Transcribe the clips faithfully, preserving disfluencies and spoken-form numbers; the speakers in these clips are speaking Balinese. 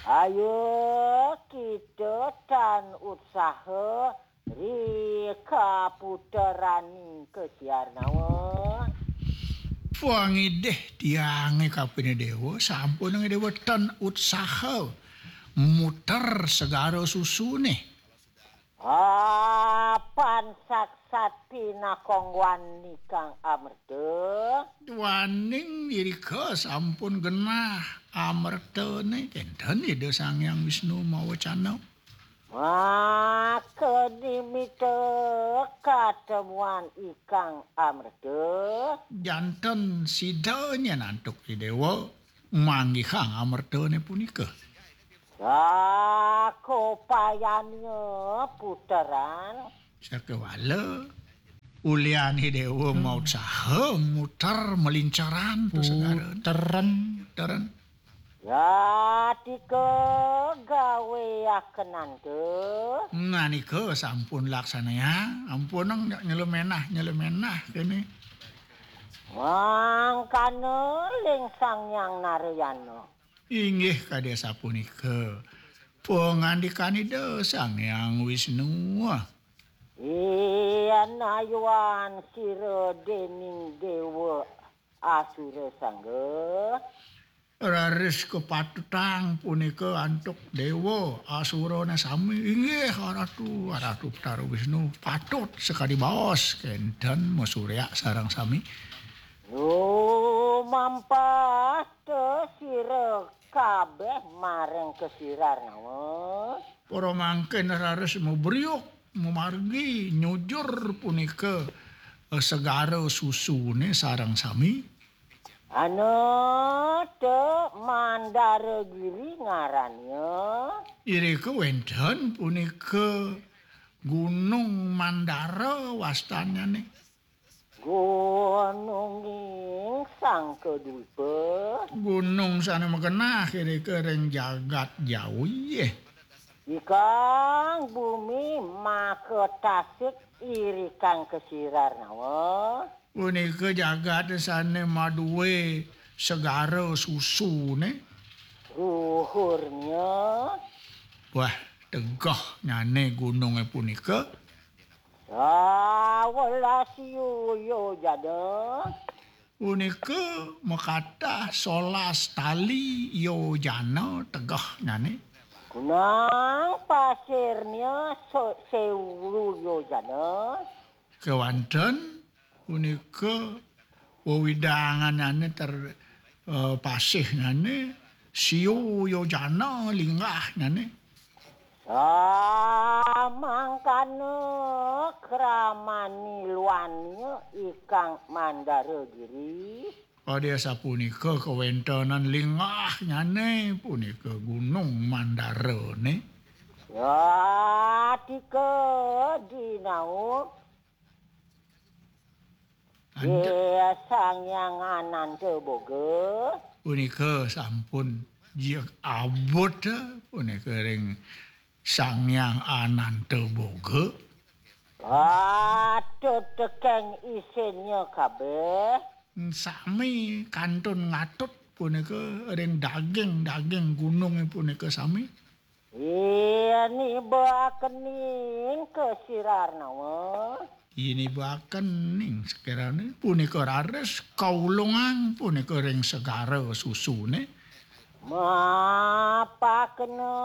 Ayo kita tan utsaha ri kaputeraning kesiarnawa. Pangidih tiange kapine dewa, sampun dewa tan utsaha muter segara susune. Apan saksat pinakongguan nikang amerta. Duaning irika sampun genah amertane, kenten Ida Sang Hyang Wisnu mawacana. Maka nimita katemuan ikang amerta. Janten sida nyen antuk Idewa manggihang amertane punika. Sakopayanya puteran. Sakewala ulian Idewa mautsaha muter melincaran to segara. Puteren. Puteren. Yatika gaweakenanta. Nanika sampun laksanayang, ampunang nyelemenah, nyelemenah kene. Mangkana ling Sang Hyang Narayana. Inggih kadi asapunika pangandikan Ida Sang Hyang Wisnu. Yen ayuan sira dening dewa Asura Sangga. Raris kapatutang punika antuk dewa Asurane sami. Inggih, Ratu, Ratu Betara Wisnu, patut sakadi baos kenten masurya sareng sami. Lumampah te sira kabeh mareng kesirar nawa. Para mangkin raris mabriuk, mamargi, nyujur punika, eh, segara susune sareng sami. Ana te Mandara Giri ngarannya. Irika wenten punika Gunung Mandara wastannyane. Gununging Sangkadwipa. Gunung sane magenah irika ring jagat Jawi. Ikang bumi maka tasik irikang kesirar nawa. Punika jagat sane madue segara susune. Ruhurnya. Wah, tegehnyane gununge punika. Sawelas yojana. Punika makatah solas tali yojana tegehnyane. Kunang pasirnya se-, sewu yojana. Kewanten punika wewidanganane ter-, eh, pasihnyane siu yojana linggahnyane. Samangkana kramani luannya ikang Mandara Giri. Kadi asapunika kawentenan linggahnyane punika Gunung Mandarane. Yatika dinau. Anda- Iya, Sang Hyang Ananta Boga. Punika sampun jia abot, punika ring Sang Hyang Ananta Boga. Patut tekeng isinnya kabeh. Sami kantun ngatut punika ring daging-daging gununge punika sami. Ini bakening kesirar nawa. Ini bakening sekirane punika raris kaulungang punika ring segara susune. Mapakena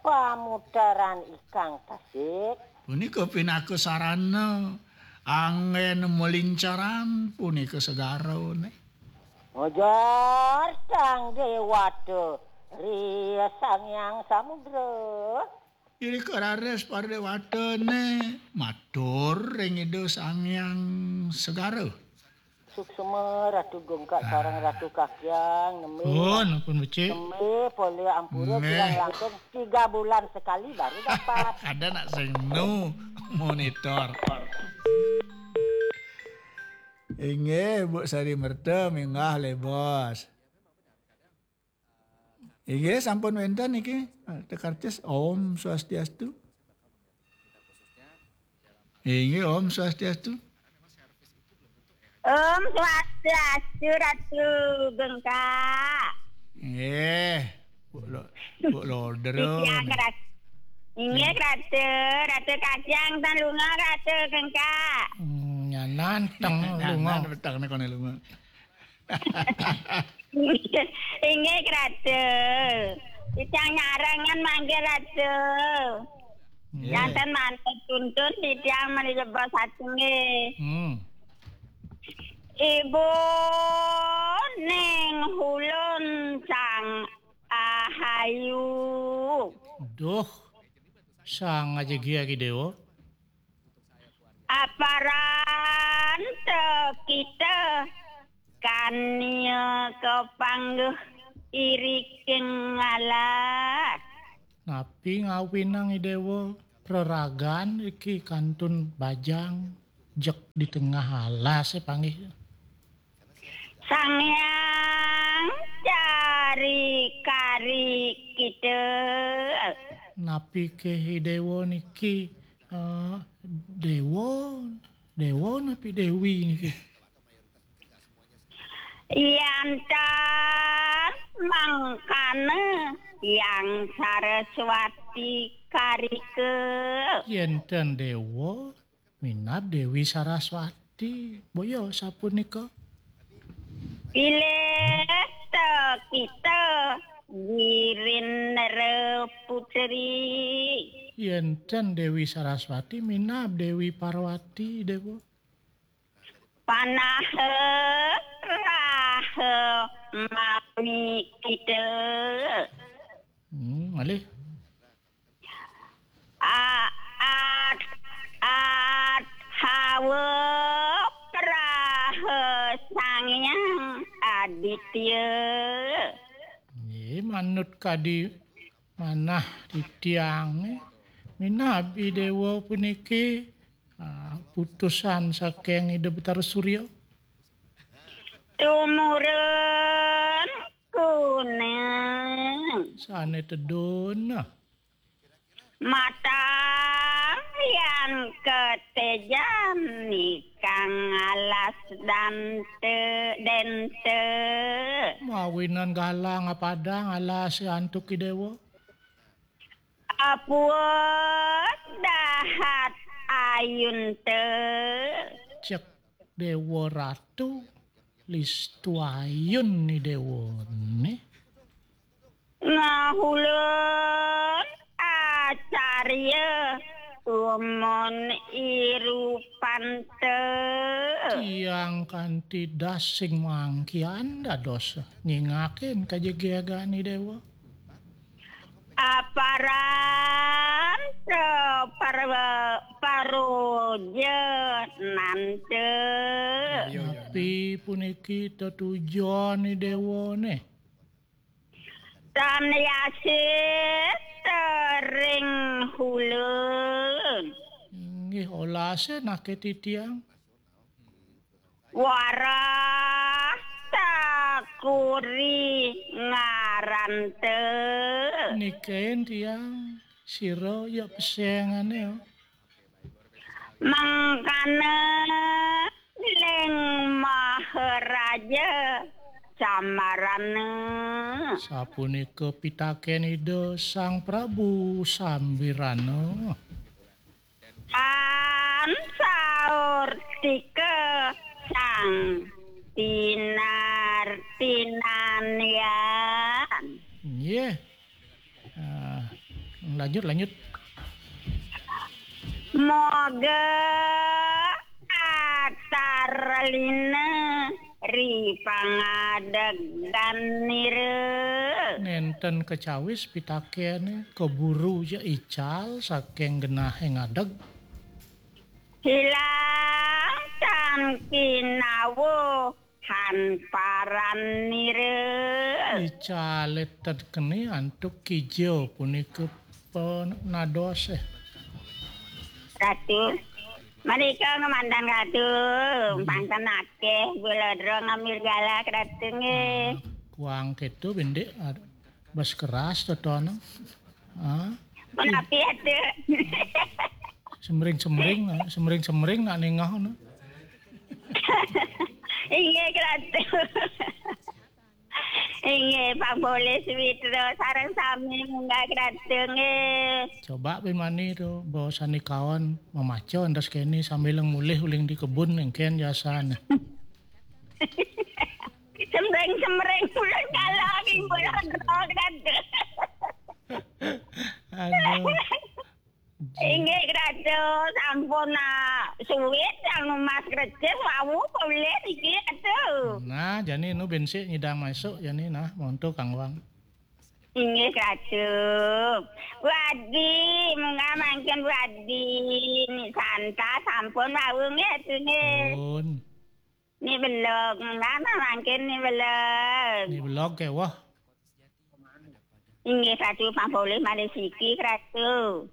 pamutaran ikang tasik. Punika pinaka sarana anggen melincaran punika segarane. Mojar Sang Dewata ri Sang Hyang Samudra. Irika raris para dewatane matur ring Ida Sang Hyang Segara. Suksma Ratu Gungkak sareng Ratu Kakyang, nembe. Oh, ampun becik. Nembe polih ampura. Nggih. Kirang langkung tiga bulan sekali baru dapat. Ada nak sing nu monitor. Inggih, Bu Sari Merta, minggah le, Bos. Inggih, sampun wenten niki. Tekarcis, Om Swastiastu. Inggih, Om Swastiastu. Om Swastiastu, Ratu Gengkak. Nggih. Bu lo, Bu lo, Titiang Ratu. Inggih, Ratu. Ratu Kajang, tan lunga, Ratu Kengkak. Hmm, nyanan, teng lunga. Nyanan, peteng ne kone lunga. Inggih, Ratu. Titiang nyarengan manggih, Ratu. Nggih. Janten manut tuntun, titiang menika saking nggih. Hmm. Ibu ning hulun sang ahayu. Duh, sang aja gia ki dewa. Aparan te kita kania kepangguh iriking alas. Napi ngawinang i dewa praragan iki kantun bajang jek di tengah alas e panggih. Sang Hyang cari kari kita. Napi ke i dewa niki, eh, dewa, dewa napi dewi niki? Yantan mangkana Hyang Saraswati karika. Yenten dewa, minab Dewi Saraswati. Boya sapunika. Pilih te kita Girindra Putri. Yenten Dewi Saraswati, minab Dewi Parwati, dewa. Panaha raha mami kita. Hmm, malih. A-, at-, at-, hawa praha Sang Hyang Aditya. Nggih, manut kadi manah titiang, nggih. Minab i dewa puniki, ah, putusan saking Ida Betara Surya. Tumurun kuning. Sane tedun. Matang yan ketejan nikang alas dante dente. Mawinan galang apadang alas antuk i dewa. Apuut dahat ayunte. Cek Dewa Ratu, listu ayun ni dewane. Ngahulun acarya umon irupante. Tiang kanti das sing mangkian dados nyingakin kajegegane dewa. Aparan te parwa-, paroja nante. Napi puniki tetujon i dewane? Tan yasih tering hulun. Inggih olase nake titiang. Warah takuri ngarante. Niken tiang sira ya pesengane, oh. Mangkana ling Maharaja Sambarana. Sapunika pitaken Ida Sang Prabu Sambirana. Tan saur tika Sang Tinar Tinanyan. Nggih. Ah, lanjut, lanjut. Moga atar lina ri pangadeg danira. Nenten kecawis pitakene, keburu ja ical saking genahe ngadeg. Hilang tan kinawo han paranira. Icale tedkeni antuk kija punika penadose. Ratu, menika ngemandan Ratu, hmm, panten akeh gula dro ngambil galak Ratu nggih. Ah, kuang ketu bindik, ah, bas keras totono. Ah. Menapi ate. Semring-semring, ah, semring-semring nak nengah no. Inggih Ratu. Inggih, Pak Polih Sumitra sareng sami munggah Kratu nggih. Coba bén mani to, bawa sandikawan mamaca entas kéné sambil mulih uling di kebun éngkén jasané. Semreng-semreng uling kala kimpul Kratu. Aduh. Inggih, Kratu, sampun, ah, suwit yang Mas Krecik wau polih niki, Kratu. Nah, jani nu bén sik nyidang masuk jani nah, monto Kang Wang. Inggih, Kratu. Bu Adi, munggah mangkin Bu Adi. Ni Santa sampun wau nggih, Kratu nggih. Pun. Ni belog, munggah mangkin ni belog. Ni belog ké wah. Inggih, Kratu, pang polih malih siki, Kratu.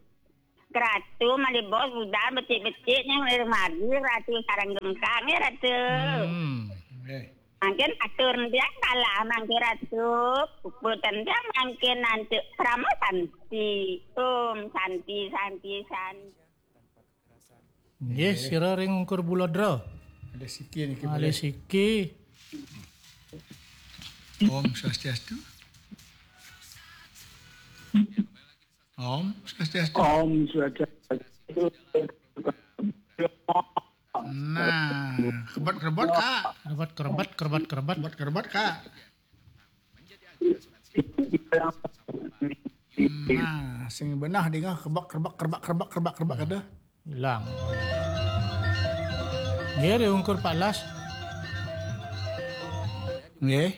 Kratu malih bos budal becik-becik nyang lir margi, Kratu, sareng gemkang ya, Kratu. Hmm. Nggih. Mangkin atur ndiak kalah mangkin, Kratu. Puput ndiak mangkin nanti krama santi. Om santi, santi, santi. Nggih, sira ring ungkur Bulodra. Ada siki niki. Ada siki. Om Swastiastu. Om Swastiastu. Om Swastiastu. Nah, kebet-kebet, Kak. Kebet-kebet, kebet-kebet. Kebet-kebet, Kak. Nah, sing benah dingeh kebek, kebek, kebek, kebek, kebek, kebek ada. Ilang. Nggih, diungkur Pak Las. Nggih.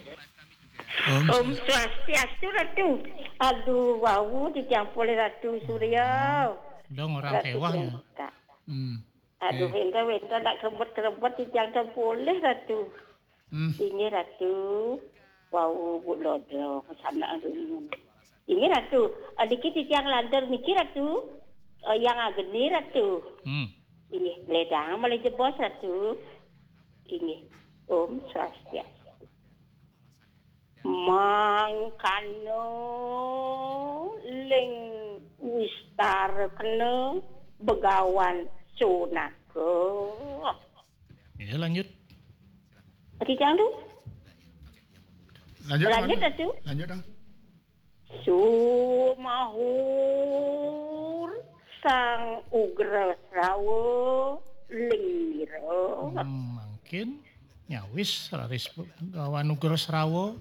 Om Swastiastu, Ratu. Aduh, wau dicampur Ratu Surya. Dong orang Ratu kewah ya. Jengka. Hmm. Aduh, eh. Wénten, wénten nak kerebet-kerebet titiang ten polih, Ratu. Hmm. Inggih, Ratu. Wau, Bu Lodro, kesana dulu. Inggih, Ratu. Eh, niki titiang lantur niki, Ratu. Eh, yang ageni, Ratu. Hmm. Inggih, ledang malih jebos, Ratu. Inggih. Om Swastiastu. Mangkana ling wistar kena begawan sunaka. Ya, lanjut. Tadi jangan tu. Lanjut, lanjut, Datu. Lanjut, Dang. Sumahur Sang Ugra Srawa Lingira. Hmm, mangkin nyawis raris Begawan Ugra Srawa.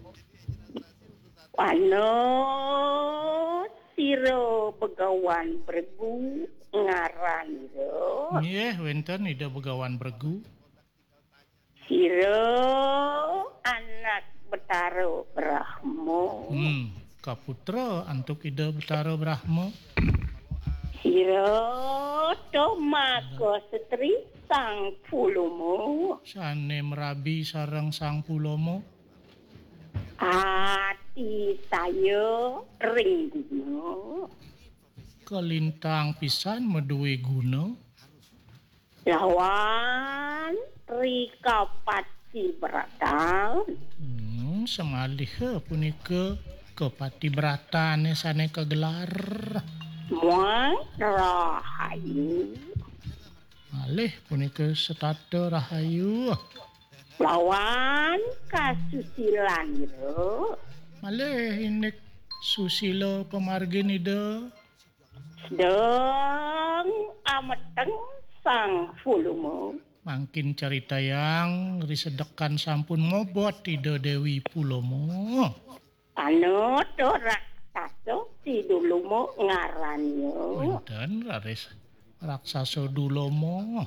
Wana sira Begawan Bregu ngaranira. Nggih, wénten Ida Begawan Bregu. Sira anak Betara Brahma. Hmm, kaputra antuk Ida Betara Brahma. Sira Tomaka Setri Sang Puluma. Sané mrabi sareng Sang Puluma. Ati saya ring guna. Kalintang pisan madué guna. Lawan Rika Pati Bratan. Hmm, samaliha punika ka Pati Bratané sané kagelar. Muang Rahayu. Malih punika setata rahayu. Lawan kasusilan ira. Malih indik susila pamargin Ida. Sedeng ameteng Sang Puluma. Mangkin caritayang risedekan sampun mobot Ida Déwi Puluma. Anata raksasa si Duluma ngarannya. Wénten raris raksasa Dulama.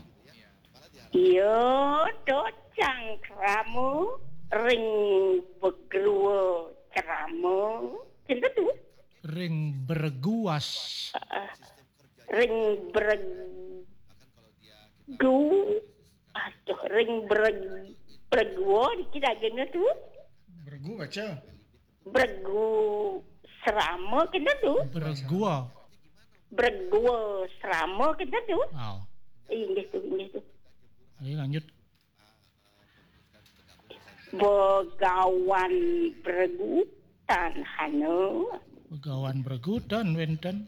Iya, to cangkrama ring begrua cerama. Sinten tu? Ring berguas. Heeh. Ring bergu. Aduh, ring bereg, bergua niki dagingnya tu. Bergu baca. Bergu serama kita tu. Bergua. Bergua serama kita tu. Oh. Inggih tu, inggih tu. Ayo lanjut. Begawan Bregu tan hana. Begawan Bregu tan wénten.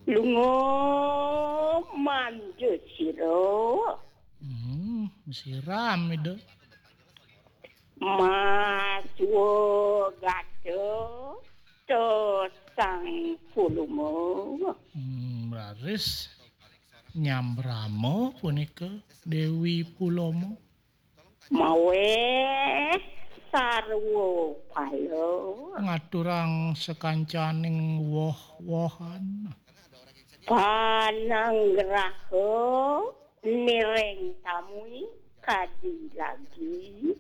Lunga manja sira. Hmm, siram Ida. Maswagata to Sang Puluma. Hmm, raris nyambrama punika Dewi Puloma. Maweh sarwa pala. Ngaturang sakancaning woh-wohan. Pananggraha niring tamui kadi lagi.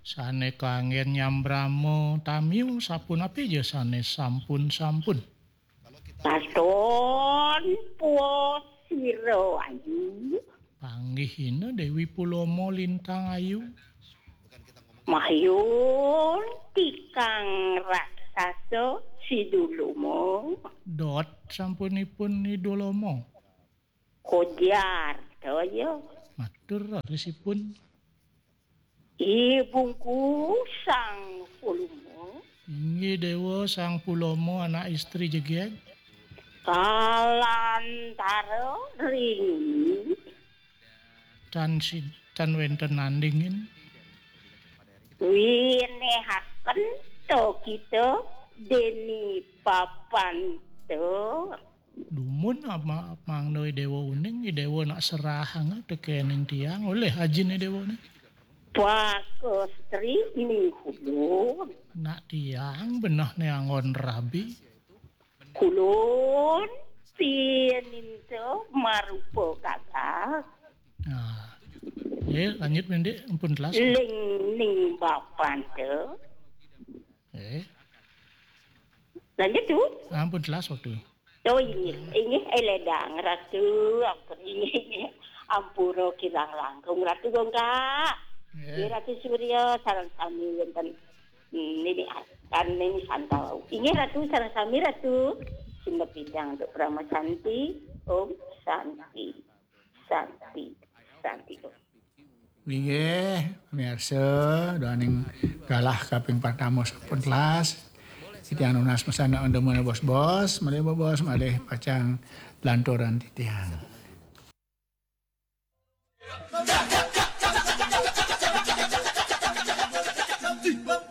Sane kanggen nyambrama tamiu sapunapi ja sane sampun-sampun. Katon puas sira ayu. Panggihina Dewi Puloma lintang ayu. Mayun tikang raksasa Siduluma. Dot sampunipun Idulama. Kojar toya. Matur rarisipun. Ibungku Sang Puluma. Inggih Dewa Sang Pulama anak istri jegeg. Kalantara ring tan sid tan wenten nandingin. Winehaken to kita deni papan to. Dumun ama mangda Dewa uning, Dewa nak serahang tekening tiang oleh ajine Dewa ne. Pakestri ning kulun. Nak tiang benah ne anggon rabi. Kulun pininta marupa gagah. Nah. Eh, lanjut Mendik, ampun telas. Ling ning bapanta. Eh. Lanjut, Tu. Ampun telas waktu. Oh, inggih, inggih, eh, ledang, Ratu, ampun, inggih, inggih. Ampura kirang langkung, Ratu Gongkak. Nggih. Nggih, Ratu Surya, sareng sami wonten, hmm, nini, kan nini santau. Inggih, Ratu, sareng sami, Ratu. Sumber bidang untuk Parama Santi. Om Santi. Santi. Santi. Om. Inggih, pamirsa, duaning galah kaping pertama sampun telas. Titiang nunas mesana andemana bos-bos, malih bos-bos, malih pacang lanturan titiang.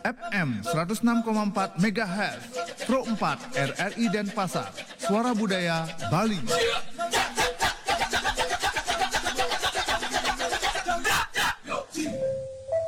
F M seratus enam koma empat megahertz, Pro empat R R I Denpasar, Suara Budaya Bali.